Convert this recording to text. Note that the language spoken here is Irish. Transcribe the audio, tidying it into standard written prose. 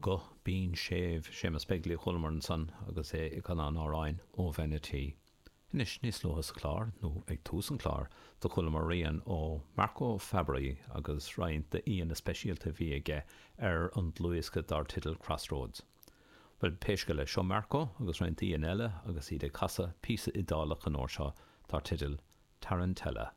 Guth binn séimh Séamus Begley a chualamar ansan agus é ag canadh an amhráin Ó Bhean a' Tí. Anois, níos luaithe sa chlár, nó ag tús an chláir, do chualamar rian ó Marco Fabbri agus roinnt d'aíonna speisialta a bhí aige ar an dlúthdhiosca dar teideal Crossroads. Bhuel, pé scéal é, seo Marco agus roinnt aíonna eile agus iad ag casadh píosa Iodálach an uair seo dar teideal Tarantella.